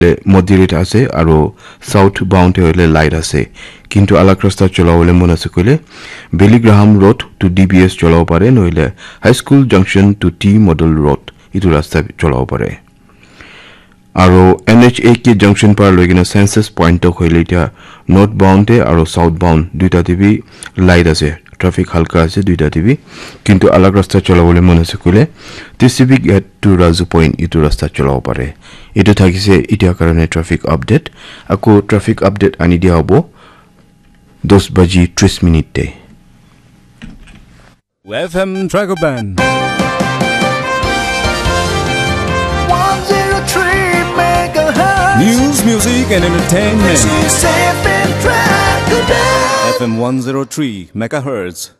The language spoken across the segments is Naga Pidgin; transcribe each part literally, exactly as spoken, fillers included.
te moderate ase, aro south bound te hoile light ase. Kintu alag rasta cholabole mon ase koile, Billy Graham Road to D B S cholabo pare, nohole High School Junction to T Model Road, itu rasta cholabo pare. Aro N H A K junction para loi kena Census Point tok hoile, itya northbound te aro southbound duita te bi light ase, traffic halka ase duita te bi. Kintu alag rasta cholabole mon ase koile, T C B gate to Razu Point itu rasta cholabo pare. Itu thakise itya karone traffic update. Ako traffic update ani dia hobo dos baji tris minute te. F M Dragon Band. One zero three megahertz. News, music, and entertainment. This is F M Dragon Band. F M one zero three megahertz.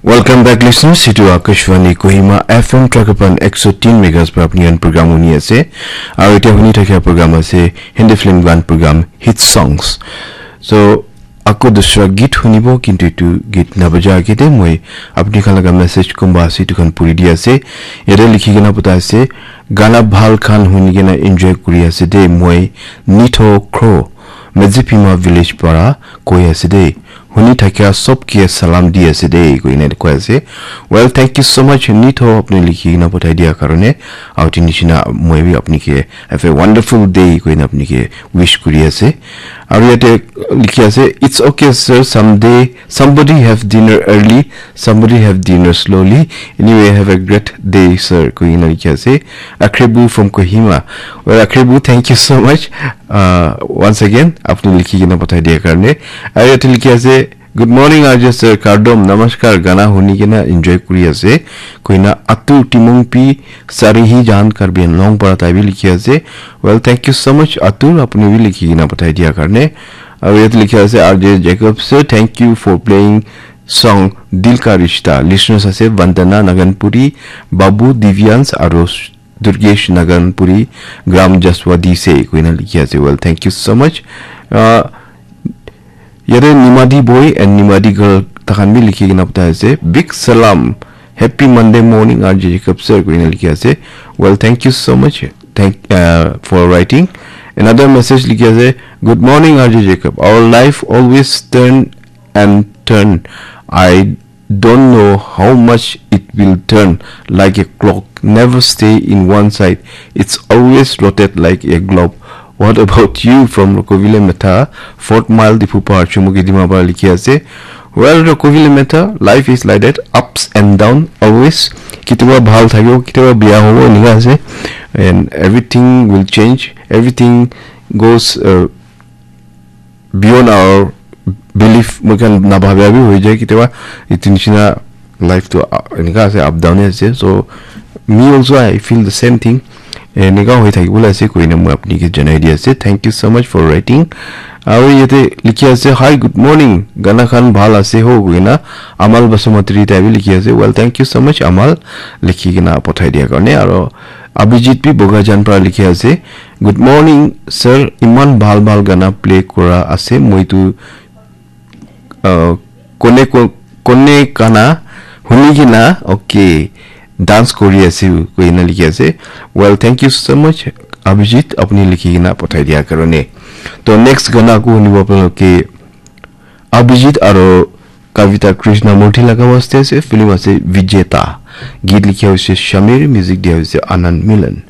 Welcome back, listeners. Itu Akashvani Kohima F M Dragon Band ekso tin megahertz para apni khan program huni ase. Aru itya huni thakia program ase Hindi film gan program Hit Songs. So, ako dusra git hunibo, kintu itu git nabaja age te moi apni khan laga message kumba ase itu khan puri di ase. Yate likhi kena pota ase, "Gana bhal khan huni kena enjoy kuri ase de, moi Nitho Kro, Medzipima village para koi ase de. Huni thakia sob ke salam di ase de," koi kena koi ase. Well, thank you so much, Nitho, apni likhi kena pothai dia karone. Aru itu nishina moi bi apni ke have a wonderful day koi kena apni ke wish kuri ase. Aru yate likhi ase, "It's okay, sir. Someday, somebody have dinner early, somebody have dinner slowly. Anyway, have a great day, sir," koi kena likhi ase. Akrebu from Kohima. Well, Akrebu, thank you so much. Uh, once again, apni likhi kena pathai dia karne. Aru yate likhi ase, "Good morning, R J sir. Kardom, namaskar. Gana huni kena enjoy kuri ase." Koi kena Atur Timungpi Sarihi Jahan Karbi Anglong para tai bi likhi ase. Well, thank you so much, Atur. Apni bi likhi kena pathai dia karne. Aru yate likhi ase, "R J Jacob sir, thank you for playing song Dil Ka Rishta." Listeners ase Vandana Naganpuri, Babu Divyans, aru Durgesh Naganpuri, Gram Jaswadi se koi kena likhi ase. Well, thank you so much. Uh, yate Nimadi boy and Nimadi girl takhan bi likhi kena pathai ase. "Big salam. Happy Monday morning, R J Jacob sir," koi kena likhi ase. Well, thank you so much. Thank, uh, for writing. Another message likhi ase, "Good morning, R J Jacob. Our life always turn and turn. I don't know how much it will turn, like a clock. Never stay in one side. It's always rotate like a globe. What about you?" From Rokovile Metha, Fort Mile, Diphu Par, Chumukedima para likhi ase. Well, Rokovile Metha, life is like that, ups and down, always. Kitiba bhal thakibo, kitiba biya hobo, enika ase. And everything will change. Everything goes, uh, beyond our belief. Moi khan nabhabia bi hoi jai kitiba. Itu nishina life to, uh, enika ase, up down ase. So me also, I feel the same thing. Enika hoi thakibole ase koina moi apni ke janai di ase. Thank you so much for writing. Aru yate likhi ase, "Hi, good morning. Gana khan bhal ase ho," koina Amal Basumatri tai bi likhi ase. Well, thank you so much, Amal, likhi kena pathai dia karne. Aru Abhijit bi Bogajan para likhi ase, "Good morning, sir. Iman bhal bhal gana play kora ase. Moi tu, uh, kone ko-, kone kana huni kena, okay, dance kori ase," koi kena likhi ase. Well, thank you so much, Abhijit, apni likhi kena pathai dia karone. To next gana ko hunibo apnaloke Abhijit aro Kavita Krishnamurti laga waste ase, film ase Vijeta. Geet likha hoise Shamir, music dia hoise Anand Milan.